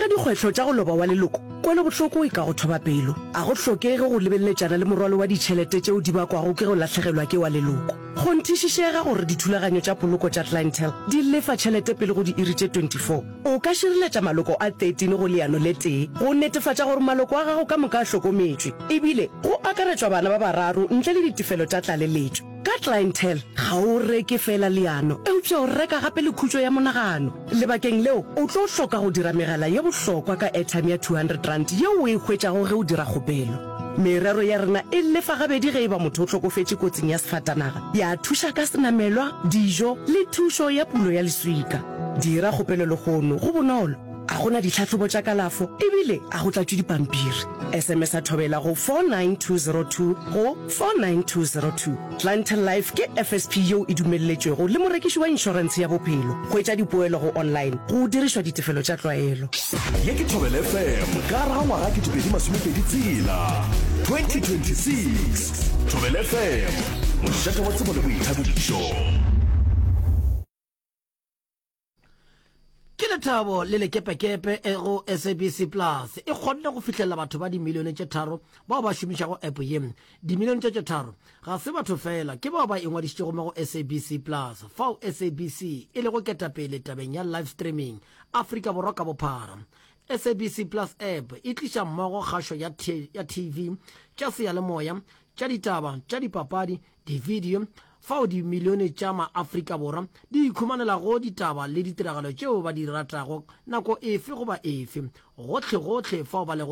dikgwetlho tša go loba wa leloko, kwelobohloko e ka go thoba pelo. A go hlokege go lebeleletšana le morwalo wa ditšhelete tšeo di bakwago ke go lahlegelwa ke wa leloko. Kgonthišišega gore dithulaganyo tša poloko tša Clientele di lefa tšhelete pele go diiri tše 24. O ka šireletša maloko a 13 go leano le tee go netefatša gore maloko a gago ka moka a hlokometšwe, ebile go akaretšwa bana ba bararo ntle le ditefelo tša tlaleletšo. Ka Clientele, ga o reke feela leano, eupša o reka gape le khutšo ya monagano. Lebakeng leo, o tlo hloka go dira megala ye bohlokwa ka airtime ya R200 yeo o e hwetšago ge o dira kgopelo. Merero ya rena e lefa gabedi ge e ba motho o hlokofetše kotsing ya sefatanaga, ya thuša ka senamelwa, dijo le thušo ya pulo ya leswika. Dira kgopelo lehono, go bonolo, ga go na ditlhahlobo tša kalafo ebile ga go tlatšwe dipampiri. SMS-a Thobela go 49202 go 49202. Clientele Life ke FSP yeo e dumelletšwego le morekiši wa inšorentshe ya bophelo. Hwetša dipoelo go online go dirišwa ditefelo tša tlwaelo. Ye ke Thobela FM ka gare ga ngwaga 2026, 2026. Thobela FM, mošate wa tsebo le boithabišo. Ke lethabo le lekepekepe e go SABC Plus e kgonne go fihlelela batho ba dimilione tše tharo bao ba šomišago app ye. Dimilione tše tše tharo ga se batho feela, ke bao ba ingwadišitšego mo go SABC Plus, fao SABC e lego ketapele tabeng ya live streaming Afrika Borwa ka bophara. SABC Plus app e tliša mmogo kgašo ya ya TV, tša seyalemoya, tša ditaba, tša dipapadi, Dividio, fao dimilione tša ma-Afrika Borwa di ikhumanelago ditaba le ditiragalo tšeo ba di ratago nako efe goba efe, gohlegohle fao ba lego.